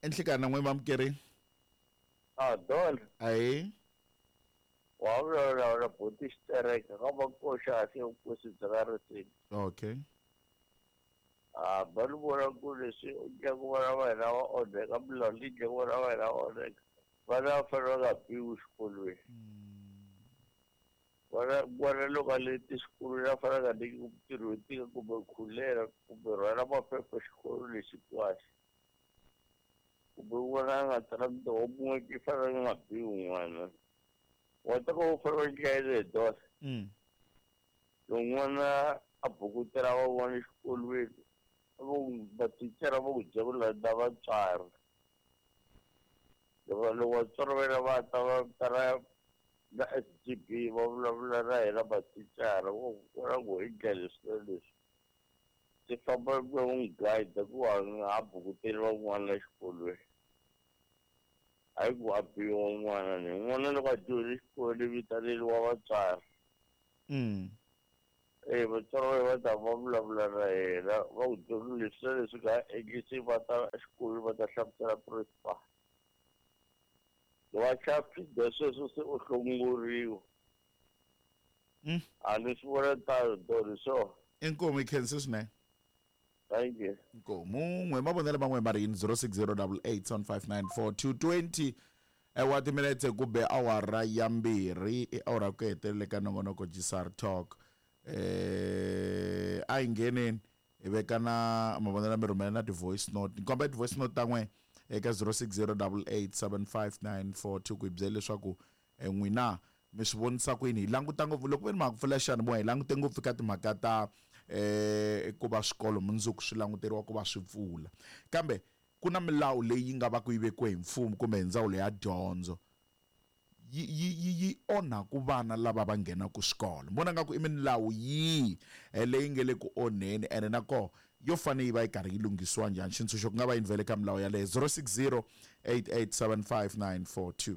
Enhlekana n'we mamukeri. A don. Ayi. Wa vulavula na buti xitereka ka makoxa se nkosi bya ka risini. Okay. A ba ni vona ku leswi ndyangu vana va hina va onheka milawu leyi ndyangu vana va hina va onheka. Vana va fanele va nga biwi xikolweni. Vana n'wana loko a leti xikolweni a fanele a nga nyikiwi mintirho yo tika kumbe khulela kumbe rhwala maphepha xikolo lexi hinkwaxo. Kumbe n'wana a nga tsalangi ti-homework i fanele a nga biwi n'wana. Wa ta ku u fanele u endla yini hi dose? Loko n'wana a bukutela van'wana exikolweni mathicara va ku byela ku landza vatswari. Loko loko vatswari va yena va ta va ta na na S_G_B va vulavula na hina mathicara va ku vona ku hi ndlela leswi na leswi. Swi famba ku n'wi guide ku a nga ha bukuteli van'wana exikolweni. Hayi ku a biwa n'wana ni n'wana loko a dyohile xikolweni vitaneliwa vatswari. E vatswari va ta va vulavula na yena va ku byela leswi na leswi nga endlisi va ta exikolweni va ta hlamusela principal. Loko a tlhela a sweswo se u hlongoriwa. A ni swi vona tano doni so. Inkomu i khense swinene. Thank you. Inkomu n'we mavonelo man'we ma ri yini 0608875942 220 wa timinetse ku be awara ya mbirhi i awara ku hetelele ka nongonoko Gsar Talk. A hi ngheneni hi veka na mavonelo mi rhumela na ti-voice note. Ni kombela ti-voice note ta n'we eka 0608875942 ku hi byela leswaku n'wina mi swi vonisa ku yini. Hi languta ngopfu loko ve ni mhaka pfula xiyanimoya hi langute ngopfu ka timhaka ta ku va swikolo mundzuku swi languteriwa ku va swi pfula, kambe ku na milawu leyi yi nga va ku yi vekiwe hi mfumo kumbe hi ndzawulo ya dyondzo yi yi yi yi onha ku vana lava va nghenaka xikolo. Ni vona nga ku i milawu yihi leyi nge le ku onheni ene na koho yo fanele yi va yi karhi yi lunghisiwa njhani. Xintshunxo ku nga va yini vhele ka milawu yaleyo? 0608875942.